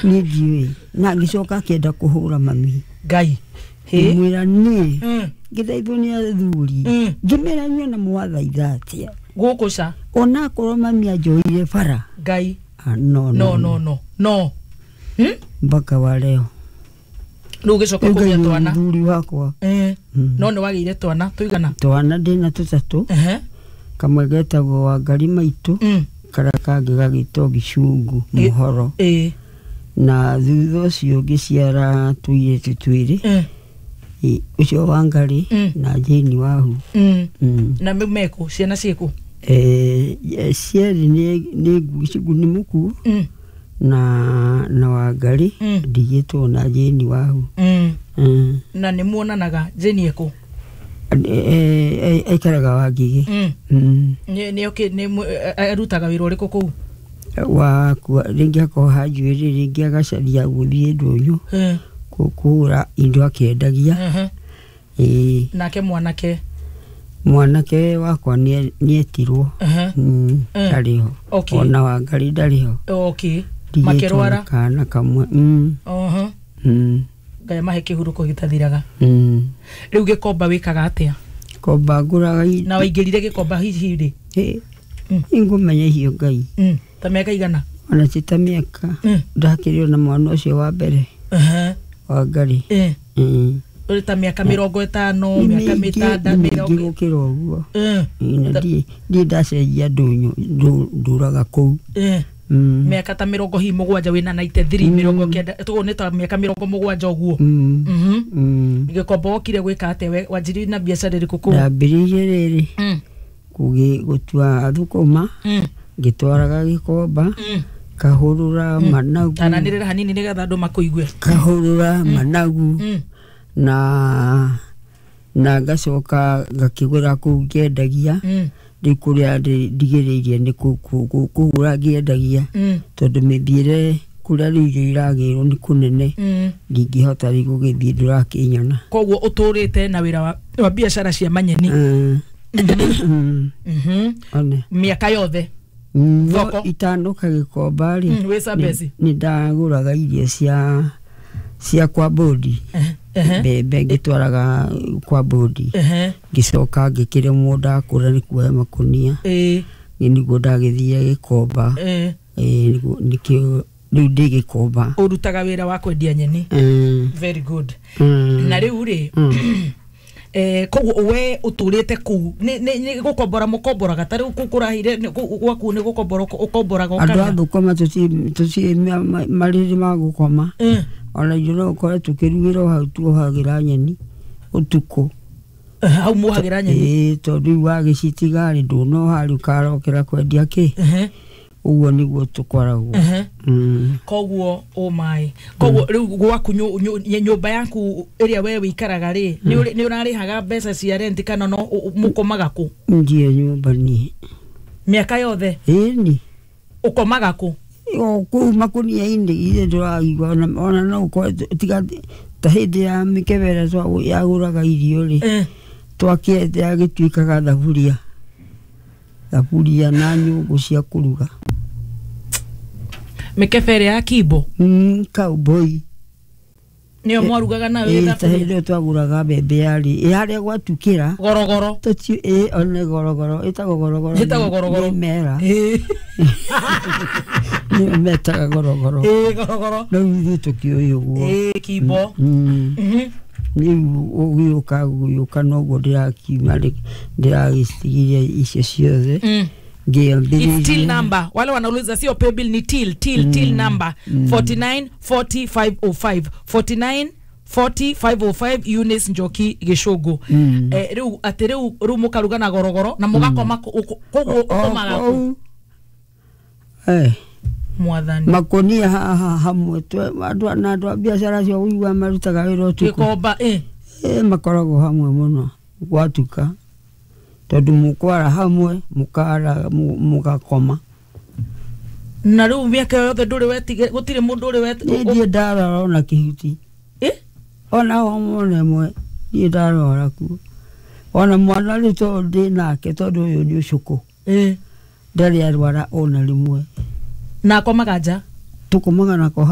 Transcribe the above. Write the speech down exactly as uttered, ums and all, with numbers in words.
Niĩ ndiũĩ, na ngĩcoka akĩenda kũhũra mami. Ngai. Hĩ. Ngĩmwĩra niĩ Mm. ngĩthaithwo nĩ athuri. Mm. Ngĩmera inyuĩ na mwathaitha atĩa? Gũkũ ca. Onakorwo mami anjoire bara. Ngai. Ah, no. No, no, no, no. Hmm? Mpaka wa leo. Rĩu ũgĩcoka Rĩu kũgĩa Ngai nĩ twana. mũthuri wakwa. Eh. Mm. No nĩ wagĩire twana tũigana? Twana ndĩna tũtatũ. Ehe. Kamwe getagwo Wangari Maitũ, Mm. karĩa kangĩ gagĩtwo Gĩcungu Ĩ- Mũhoro. Ĩĩ. Na thutha ũcio ngĩciara tũirĩtu twĩrĩ. Mm. Ĩ, ũcio Wangari Mm. na Jane Wahu. Mm. Mm. Na me- mekũ ciana ciĩkũ? Eh, cierĩ nĩ nĩ Gĩcungu nĩ mũkuũ Mm. na na Wangari Mm. ndigĩtwo na Jane Wahu. Mm. Mm. Na nĩ muonanaga Jane ekũ? Eh, eh, aikaraga Wangigĩ. Mm. Mm. Nĩ nĩ okĩ nĩ mũ- eh, arutaga wĩra ũrĩkũ kũu? Wa kua rĩngĩ akoha njuĩrĩ, rĩngĩ agacaria gũthiĩ ndũnyũ Eh. kũ- kũgũra indo akĩendagia. Mhm. Ĩĩ. Nake mwanake? Mwanake wakwa nĩ nĩetirwo. Ehe. Mm, Mm. ndarĩ ho. Okay. Ona Wangari ndarĩ ho. Okay. Ndigĩtwo na Makĩrwara? kana kamwe. Mm. Oho. Mm. Ngai amahe kĩhurũko gĩtathiraga. Mm. Rĩu gĩkomba wĩkaga atĩa? Komba ngũraga i- Na waingĩrire gĩkomba hihi rĩ? Ĩ, Mm. nĩngũmenya icio Ngai. Mm. Ta mĩaka igana? Ona ti ta mĩaka. Mm. Ndakĩrĩ ona mwana ũcio wa mbere. Ehe. Wangari. Eh. Mm. Ũrĩ ta mĩaka mĩrongo ĩtano, Nĩ mĩaka mĩingĩ, mĩtanda, nĩ mĩingĩ mĩrongo gũkĩra ũguo. Eh. Ĩ, na Ta- ndiĩ ndiĩ ndacenjia ndũnyũ ndũ- ndũraga kũu. Eh. Mm. Mĩaka ta mĩrongo hihi mũgwanja wĩna ninety-three, mĩrongo kenda, tũguo nĩ ta mĩaka mĩrongo mũgwanja ũguo. Mm. Mhm. Mm. Gĩkomba wokire gwĩka atĩa? We- Wanjiririe na biacara ĩrĩkũ kũu? Ndambĩrĩirie rĩrĩ Mm. kũgĩ gũtua thũkũma, Mm. ngĩtwaraga gĩkomba, Mm. kahũrũra managu. Tananĩrĩra hanini nĩgetha andũ makũigue. Kahũrũra managu. Mm. Na na ngacoka ngakĩgũra kũu ngĩendagia. Mm. Rĩu kũrĩa ndĩ- ndigĩrĩirie nĩ kũ- kũ- kũ- kũgũra ngĩendagia, Mm. tondũ mĩthiĩre kũrĩa rĩu irio iragĩrwo nĩ kũnene, Mm. ndingĩhota rĩu gũgĩthiĩ, ndũrakĩnyona. Koguo ũtũrĩte na wĩra wa, wa biacara cia manyeni? Mm. Mm. Mhm. One. Mĩaka yothe? No Thoko? itanoka gĩkomba rĩ, Mm, wĩ Zambezi? nĩ ndagũraga irio cia cia kwa bodi. Ehe, ehe. Mbembe ngĩtwaraga kwa bodi. Ehe. Ngĩcoka ngĩkĩremwo, ndakũra nĩ kuoya makũnia. Ĩĩ. Nĩguo ndagĩthire gĩkomba. Ĩĩ. Ĩĩ, nĩguo nĩkĩo rĩu ndĩ gĩkomba. Ũrutaga wĩra wa kwendia nyeni? Mm. Very good. Mm. Na rĩu rĩ, Mm. eh, koguo we ũtũrĩte kũu nĩ nĩ- nĩ gũkombora mũkomboraga ta rĩu kũu kũrahire nĩ- kũu gwaku nĩ gũkombora ũko- ũkomboraga Andũ a ũkagĩa? thũkũma tũtirĩ tũtirĩ ma- ma- marĩrĩ ma gũkoma. Eh. Ona ithuĩ no ũkore tũkĩrugĩra o hau tuohagĩra nyeni ũtukũ. Eh, hau muohagĩra nyeni? Ĩĩ, tondũ rĩu wagĩcitiga rĩ, ndũnoha rĩ, ũkarokera kwendia kĩ. Ehe. Ũguo nĩguo tũkoragwo. Ehe. Mm. Koguo ũmaĩ koguo rĩu gwaku nyũ- nyũ- nyũmba yaku ĩrĩa we wĩikaraga rĩ, nĩ ũrĩ- nĩ ũrarĩhaga mbeca cia rent kana no ũ- ũ- mũkomaga kũ? Ndirĩ nyũmba niĩ. Mĩaka yothe? Ĩni. Ũkomaga kũ? O kũu makũnia-inĩ, ithe ndũraigua ona ona no ũkore tiga ta hĩndĩ ya mĩkebe ĩrĩa twa- yagũraga irio rĩ, Eh. twakĩete yagĩtuĩkaga thaburia thaburia na nyũngũ cia kũruga. Mĩkebe ĩrĩa ya kimbo? Mm, cowboy. Nĩyo mwarugaga nayo? Ĩĩ, ta thaburia? hĩndĩ ĩyo twagũraga mbembe yarĩ ĩ harĩa gwatukĩra. Gorogoro? Tũti ĩ one gorogoro, ĩtagwo gorogoro. Ĩtagwo gorogoro. Nĩ mera. Ĩĩ. Nĩyo metaga gorogoro. Ĩĩ, gorogoro. Rĩu ithuĩ tũkĩũĩ ũguo. Ĩĩ, kimbo. Mm. Mhm. Rĩu ũgĩũka gũgĩũka noguo ndĩrakiuma rĩ- ndĩragĩcitigire icio ciothe. Mm. It's till Ngĩambĩrĩria number. Wale wanauliza sio paybill, ni till till till number forty-nine forty five oh five, forty-nine forty five oh five, Eunice Njoki Gĩcũngũ. Mm. Eh, rĩu atĩ rĩu rĩu mũkaruga na gorogoro na mũgakoma kũ- ũkũ- koguo ũkomaga kũ? Kũu. Eh, Mwathani. Makũnia haha hamwe twe- andũ na andũ a biacara acio ũiguaga marutaga wĩra ũtukũ. Gĩkomba, eh. Eh, makoragwo hamwe mũno gwatuka, tondũ mũkwara hamwe, mũkara mu- mũgakoma. Na rĩu mĩaka yothe ndũrĩ wetige gũtirĩ mũndũ ũrĩ wet Niĩ ndirĩ ndarwara ona kĩhuti. Eh? Ona homa ĩmwe ndirĩ ndarwara kuo. Ona mwana rĩu tondũ ndĩ nake, tondũ ũyũ nĩ ũcũkũ, Eh. ndarĩ arwara ona rĩmwe. Na akomaga nja? Tũkomaga nako.